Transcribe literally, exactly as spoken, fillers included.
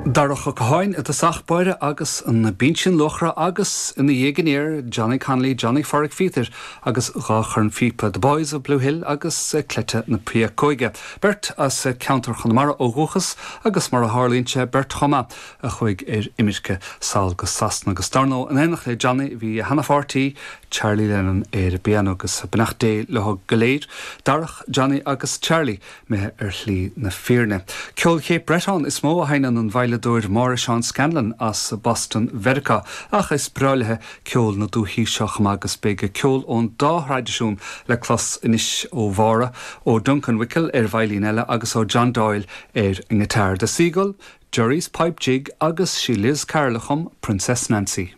Darach Ó Catháin i dtosach báire agus an Binsin Luachra agus ina dhiaidh aniar Johnny Connolly, Johnny Phádraic Phíotair agus dhá chornphíopa The Boys of Blue Hill agus Cleite na Péacóige. Beirt as ceantar Chonamara ó dhúchas agus mar a tharlaíonn sé beirt chomh maith a chuaigh ar imirce sall go Sasana agus dar ndóigh in éineacht le Johnny bhí a sheanpháirtí Charlie Lennon ar an bpianó agus beannacht Dé leo go léir, Darach, Johnny agus Charlie imithe ar shlí na fírinne. Ceol Cape Breton is mó a sheinneann an veidhleadóir Máire Seán Scanlon as Boston Mheiriceá ach is breá léi ceol na dúichí seo agus beidh ceol ón dá thraidisiún le clos anois ó Mháire ó Duncan Wickel ar veidhlín eile agus ó John Doyle ar an ngiotár The Seagull, Jerry's Pipe Jig agus sí Liz Carroll a chum Princess Nancy.